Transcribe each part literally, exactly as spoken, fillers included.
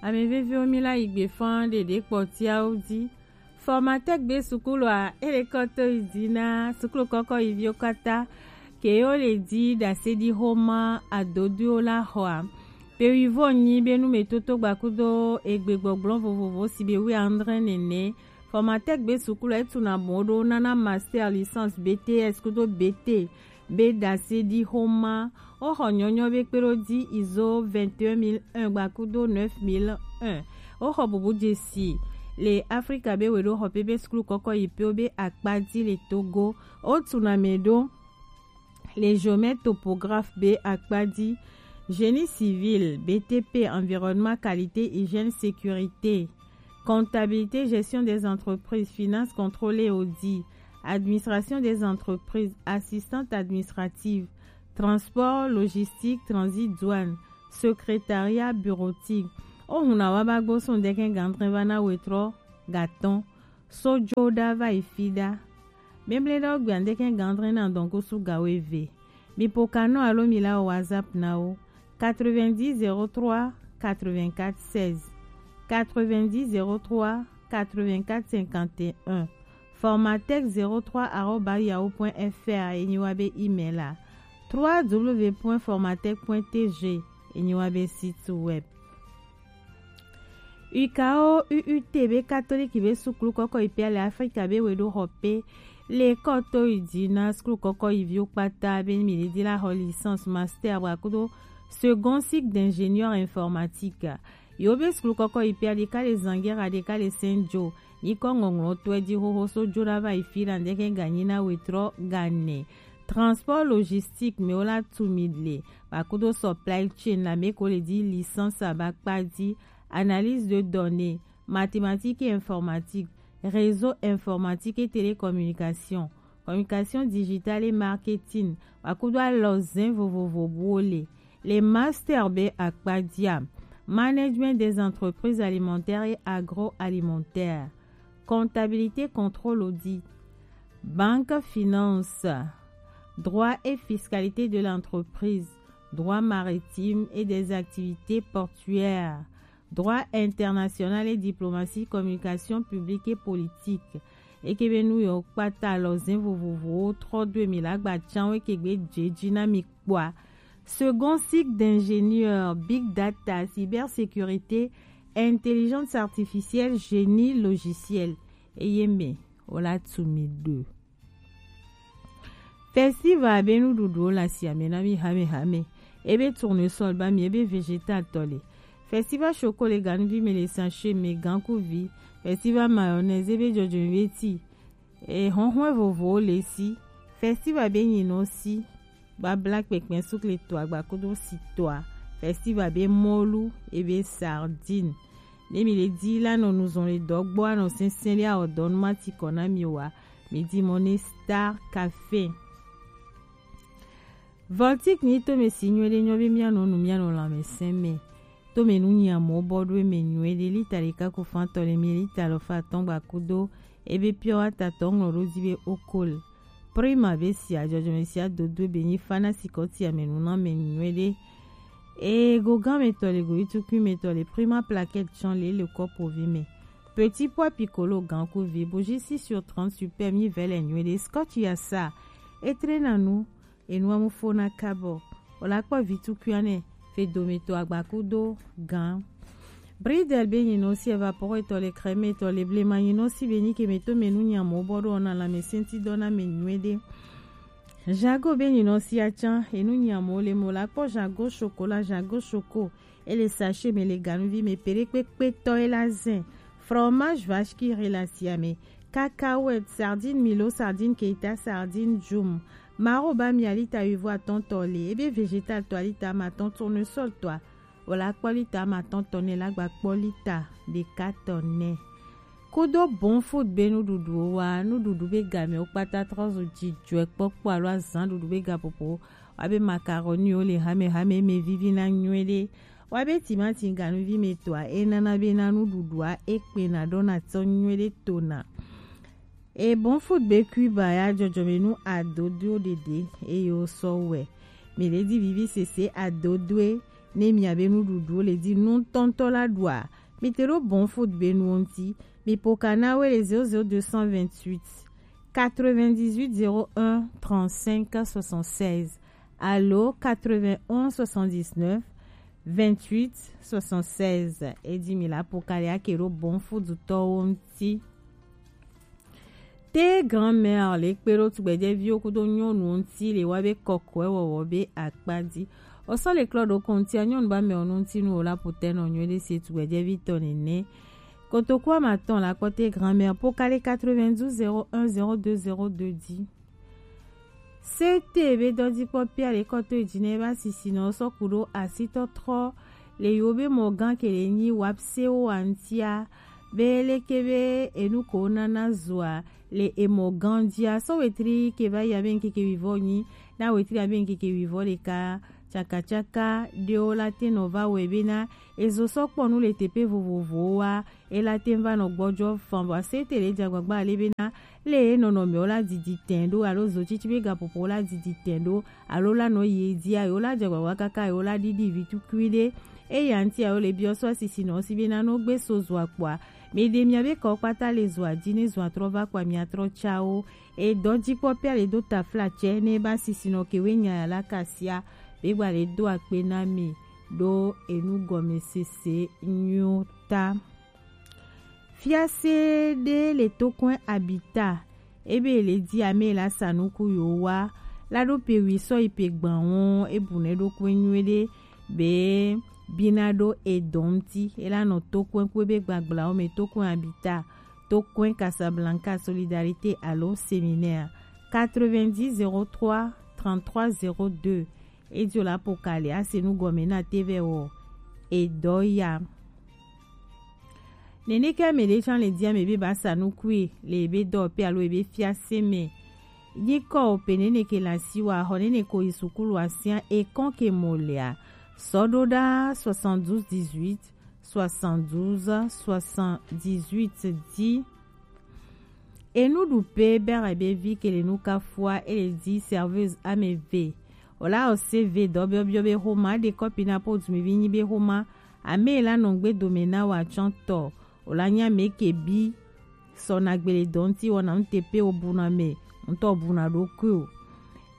Ame veviwo, mi la yi gbe fan ɖeɖe kpɔtiawo ji. Formatec be sukulu a, ele kɔ to yi ji na sukulu kɔkɔ yi viwo kpata. Ke wo le ji ɖase ɖi xoma adodoewo la xɔa. Pe wivɔn nyi be nu me toto gbakudo egbe gbɔgblɔ vovovo si be wi andre nene. Formatec be sukulu etu na bon ɖo nana master, licence, B T S kudo B T. Be ɖase ɖi xoma. Woxɔ nyɔnyɔ be kpeɖo ji izo vingt et un mille un gbakudo neuf mille un. Woxɔ bubu jesi le Afrika be weɖo xɔ pe be sukulu kɔkɔ yi pe wo be akpa ji le Togo. Wotu na me ɖo le géomètre topographe be akpa ji, génie civil, B T P, environnement, qualité, hygiène, sécurité, comptabilité, gestion des entreprises, finance, contrôle et audit, administration des entreprises, assistante administrative, transport, logistique, transit, douane, secrétariat bureautique. Ohun na wa ba gbo sun deke gandre va na wetrɔ gatɔn. Sojo ɖa va yi fi ɖa. Bɛnblɛn ɖe wo gbe andeke gandre na dɔn kusu gawo eve. Mi po kanɔ alo mi la wo WhatsApp na wo. Quatre-vingt-dix zéro trois quatre-vingt-quatre seize. Quatre-vingt-dix zéro trois quatre-vingt-quatre cinquante et un. Formatec zéro trois arobase yahoo point F R enyi wa be email a. Trois W point formatec point T G enyi wa be site web. U K O U U T be katoliki be sukulu kɔkɔ yi pia le Afrika be weɖo xɔ pe le kɔ to yi ji na sukulu kɔkɔ yi viwo kpata be mi le di la xɔ licence, master wa kudo second cycle d'ingénieur informatique. Yo be sukulu kɔkɔ yi pia ɖeka le Zangera, ɖeka le Saint Joe. Nyikɔ ŋɔŋlɔ to e ji xoxo so jo ɖa va yi fi la ndeke ganyi na wetrɔ gane. Transport logistique me wo la tu mi le. Wa kudo supply chain la me ko le di licence aba kpa di, analyse de données, mathématiques et informatique, réseau informatique et télécommunication, communication digitale et marketing, wa kudo alɔzɛn vovovo buwo le. Le master be akpa dia, management des entreprises alimentaires et agroalimentaires, comptabilité, contrôle, audit, banque, finance, droit et fiscalité de l'entreprise, droit maritime et des activités portuaires, droit international et diplomatie, communication publique et politique. Eke be nu yo kpata alɔzɛn vovovowo trɔ do emi la gba can wo eke gbe jeji na mi kpɔa. Second cycle d'ingénieur, big data, cybersécurité, intelligence artificielle, génie logiciel. Eye me wo la tu mi do. Festival be nuɖuɖuwo le asia me na mi hamehame. Ebe tournesol ba mi, ebe vegetal tɔ le. Festival choco le ganuvi me le sachet me gankuvi. Festival mayonnaise ebe jɔjɔme be ti. E hɔnhɔn vovowo le si. Festival be nyinɔ si. Babla kpɛkpɛ sukle to agba kudo si toa. Festival be mɔlu ebe sardine. Ne mi le di la nɔ nuzɔn le dɔ gbɔ anɔ sɛnsɛn le awɔ dɔ nu ma ti kɔ na mi wa. Mi di mɔ ne Star Café. Voltic ni to me si nyuie ɖe nyɔ be mia nɔ nu mia nɔ lãmesẽ me. To me nu nyia mɔ bɔ ɖo me nyuie ɖe lita ɖeka ku fan tɔ le mi lita lɔ fa tɔn gba kudo ebe pure water tɔ ŋlɔ ɖo di be okol. Prima be sia jɔjɔme sia dodo be nyi fana sikɔ tia me nu na me nyuie ɖe. E go gan me tɔ le go itukui me tɔ le prima plaquette chɔn le le kɔpo vi me. Petit pois piccolo gan ku vi bougie six sur trente super mi vɛ le nyuie ɖe scotch ya sa. Etre na nu. Enua mu fo na kabɔ. O la kpɔ vi tukui anɛ fe do me tɔ agba kudo gan. Bridel be nyinɔ si evapore tɔ le crème tɔ le blema nyinɔ si be nyi ke me to me nu nyamɔ bɔ ɖo na la me senti dɔ na me nyuie ɖe. Jago be nyinɔ si atsan enu nyamɔ le mo la kpɔ jago chocolat jago choco. Ele sachet me le ganuvi me peɖekpekpe tɔ e la zin. Fromage vache qui rit la sia me. Cacahuète, sardine milo, sardine keita, sardine djum. Maro ba mi alita wivo atɔn tɔ le. Ebe vegetal tɔ alita ma tɔn tournesol tɔ a. Wala kpɔ lita ma tɔn tɔ ne la gba kpɔ lita ɖeka tɔ ne. Kudo bon food be nuɖuɖuwo wa, nuɖuɖu be game wo kpata trɔ zu jijɔe kpɔkpɔ alo azan ɖuɖu be gaƒoƒo. Wa be macaroni wo le hame hame me vivi na nyuie ɖe. Wa be timati ganuvi me tɔa e nana be na nuɖuɖua e kpena ɖo na tɔ nyuie ɖe tona. E bon food be Cuba ya jɔjɔmenu adodo ɖeɖe eye wo sɔ wɛ. Mi le di vivi sese adodoe. ne miabe nuɖuɖuwo le di nutɔntɔ la ɖua, mi te ɖo Bon Food be nuwo ŋuti. Mi po ka na we le zéro zéro deux cent vingt-huit quatre-vingt-dix-huit zéro un trente-cinq soixante-seize alo quatre-vingt-onze soixante-dix-neuf vingt-huit soixante-seize. E di mi la po ka le ake ɖo Bon Food tɔwo ŋuti. Te grand-mère le kpe ɖo tugbɛjɛviwo kudo nyɔnuwo ŋuti le wa be kɔkɔɛ wɔwɔ be akpa di. O sɔ le klɔ ɖo kɔntia nyɔnu ba mɛ o nu ŋuti nu o la po tɛ nɔ nyuie ɖe se tugbɛjɛvi tɔ nene. Kotoku amatɔn la kpɔ te grand-mère po ka le quatre-vingt-douze zéro un zéro deux zéro deux di. Sete be dɔjikpɔ pia le kɔto eji ne ba sisi nɔ sɔ ku ɖo asitɔ trɔ le yo be mɔ gan ke le nyi wapse wo antia be leke be enu ko nana zua le emɔ gan jia sɔ wetri ke va ya be nkeke wivɔ nyi na wetri ya be nkeke wivɔ le ka tsakatsaka ɖewo la te nɔ va wɛ be na ezo sɔ kpɔ nu le teƒe vovovowo wa ela te va nɔ gbɔjɔ fan vɔ ase te le dza gbagba le be na le nɔnɔme wo la didi tɛn ɖo alo zo tsitsi be gaƒoƒo wo la didi tɛn ɖo alo la nɔ yi dzi ayi wo la dza gbagba kaka ayi wo la ɖiɖi vi tukui ɖe eya ŋuti ayi wo le biɔ sɔ sisi nɔ si be na no gbe so zo akpɔa mi ɖe mia be kɔ kpata le zo adzi ne zo atrɔ va kpa mia trɔ tsawo e dɔ dzi kpɔ pia le do tafla tsɛ ne ba sisi nɔ ke we nya ya la kasia be gba le do akpe na mi ɖo enu gɔme sese nyuta. Fiase ɖe le tokɔe abita ebe le di ame la sa nuku yo wa la ɖo pe wi sɔ yi pe gban wo ebu ne ɖo kɔe nyuie ɖe be bina ɖo edɔn ti ela nɔ tokɔe kɔe be gbagbla wo me tokɔe abita tokɔe Casablanca solidarité alo séminaire quatre-vingt-dix zéro trois trente-trois zéro deux. Edio la pokale ase nu gɔme na te vɛ wɔ edɔ ya. Nene ke ame ɖe tsã le di ame be ba sa nukui le ebe dɔwɔƒe alo ebe fiase me. Nyikɔ o pe nene ke le asi wa xɔ nene ko yi sukulu asia ekɔn ke mo lea. Sɔ ɖo ɖa soixante-douze dix-huit soixante-douze soixante-dix-huit di. Enuɖuƒe be Arabevi ke le nu kafua ele di serveuse ame eve. Wòla ose ve dɔ biɔbiɔ be xoma ɖe kɔpi na po dumivi nyi be xoma ame la nɔ gbe dome na wa tsɔntɔ. Wòla nya me ke bi sɔ na gbele dɔ ŋuti wɔna ŋute pe wo buna me ŋutɔ buna ɖokui o.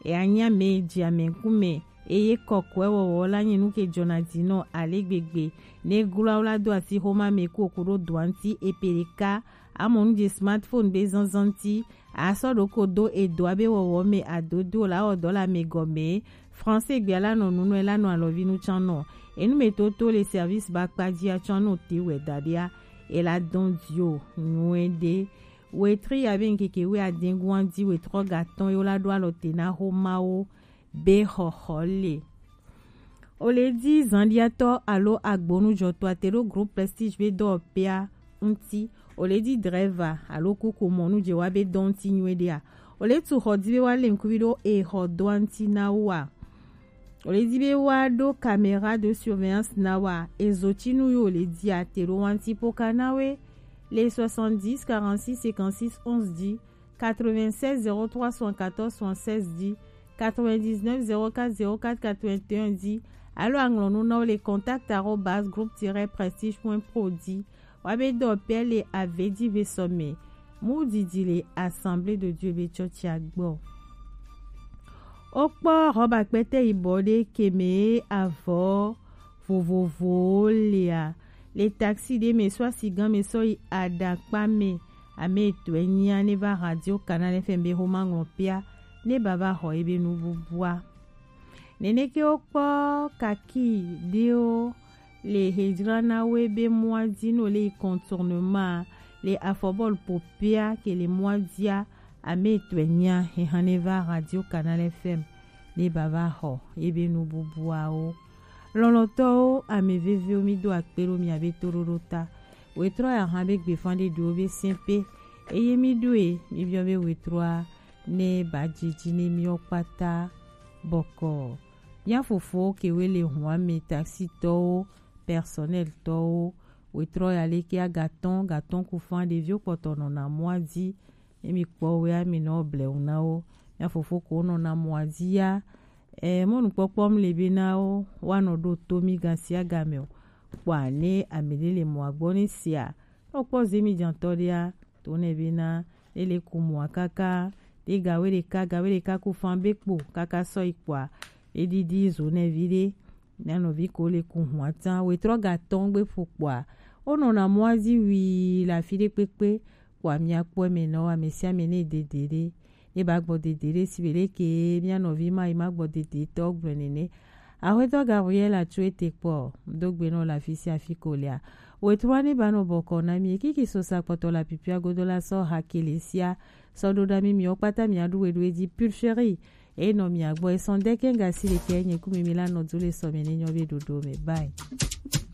Eya nya me dzi ame ŋkume eye kɔkɔe wɔwɔ la nye nu ke dzɔna dzi nɔ ale gbegbe. Ne glɔa wo la do asi xoma me ku oku ɖo doa ŋuti epe ɖeka amɔ nu dzi smartphone be zanzan ŋuti asɔ ɖoko do edoa be wɔwɔ me adodo la wɔ dɔ le ame gɔme. Français gbea la nɔ nunɔe la nɔ alɔvi nu tsã nɔ. Enu me toto le service ba kpa dzia tsã no te wɛ da ɖia. Ela dɔn dio nyuie ɖe. Wetri ya be ŋkeke wɛ adeŋgua di wetrɔ gatɔn yo la ɖo alɔ te na xomawo be xɔxɔ le. O le di zandiatɔ alo agbonujɔtɔ ate ɖo groupe Prestige be dɔwɔƒea ŋuti. O le di driver alo kuku mɔnu dze wa be dɔ ŋuti nyuie ɖea. O le tu xɔ di be wa le ŋkuvi ɖo exɔ dɔa ŋuti na wa. O le di be wa ɖo caméra de surveillance na wa. Ezo tsi nu yo o le di ate ɖo wa ŋuti poka na we le soixante-dix quarante-six cinquante-six onze di. Quatre-vingt-seize zéro trois soixante-quatorze soixante-seize di, quatre-vingt-dix-neuf zéro quatre zéro quatre quatre-vingt-un di, alo aŋlɔ nu na wo le contact arobase groupe tiret prestige point pro di. Wa be dɔ pɛ le ave di ve sɔ me. Mu didi le Assemblée de Dieu be tsɔtsia gbɔ. Wo kpɔ Rɔba kpɛtɛ yibɔ ɖe ke me avɔ vovovowo lea le taxi ɖe me sɔ asi gan me sɔ yi aɖakpa me. Ame etɔ̃e nyia ne va Radio Canal F M be xoma ŋlɔ pia ne ba va xɔ ebe nububua. Neneke wo kpɔ kaki ɖewo le hedzra na wo ebe mɔa di no le yi contournement le afɔbɔl popea ke le mɔa dia. Ame etɔ̃e nyia hehan ne va Radio Canal F M ne ba va xɔ ebe nububuawo. Lɔlɔ̃tɔwo, ame veviwo, mi do akpe ɖo miabe toɖoɖo ta. Wetrɔ ya hã be gbefanɖeɖiwo be sɛ̃ pe. Eye mi ɖoe, mi biɔ be wetrɔa ne ba dzidzi ne miwo kpata bɔkɔ. Mia fofowo kewe le hua me, taxitɔwo, personnel tɔwo, wetrɔ ya leke agatɔn, gatɔn kufan ɖeviwo kpɔtɔ nɔna mɔa dzi. Ne mi kpɔ wea mi nɔ blewu na wo. Mia fofo ko nɔna mɔa dzi ya. E mɔnukpɔkpɔ mle be na wo wa nɔ ɖo to mi gasiaga me o. Kpɔ ane ame ɖe le mɔ agbɔ ne sia. Nɔ kpɔ zemi jantɔ ɖea to ne be na ne le ku mɔ kaka ɖe gawe ɖeka gawe ɖeka ku fan be kpo kaka sɔ yi kpɔa. Eɖiɖi zo ne vi ɖe. Mia nɔvi ko le ku hua tan wetrɔ ga tɔn gbe ƒo kpɔa. Wonɔna mɔa dzi wii le afi ɖe kpekpe. Kpɔa miakpɔ eme nɔ ame sia ame ne dede ɖe. Ne ba gbɔ dede ɖe si be ɖe ke mia nɔvi ma yi ma gbɔ dede tɔ gblɔ nene. Aƒetɔ Gabriel atso ete kpɔ do gbe nɔ le afi sia afi ko lea. Wetrɔ ne ba nɔ bɔkɔ na mi kiki sosa kpɔtɔ la pipia godo la sɔ ha kele sia. Sɔ ɖo ɖa mi miwo kpata mia ɖu weɖu edzi pulcherie. Eye nɔ mia gbɔ esɔn deke gasi ɖeke nye ku mi mi la nɔ du le sɔ me ne nyɔ be ɖoɖo me. Bye.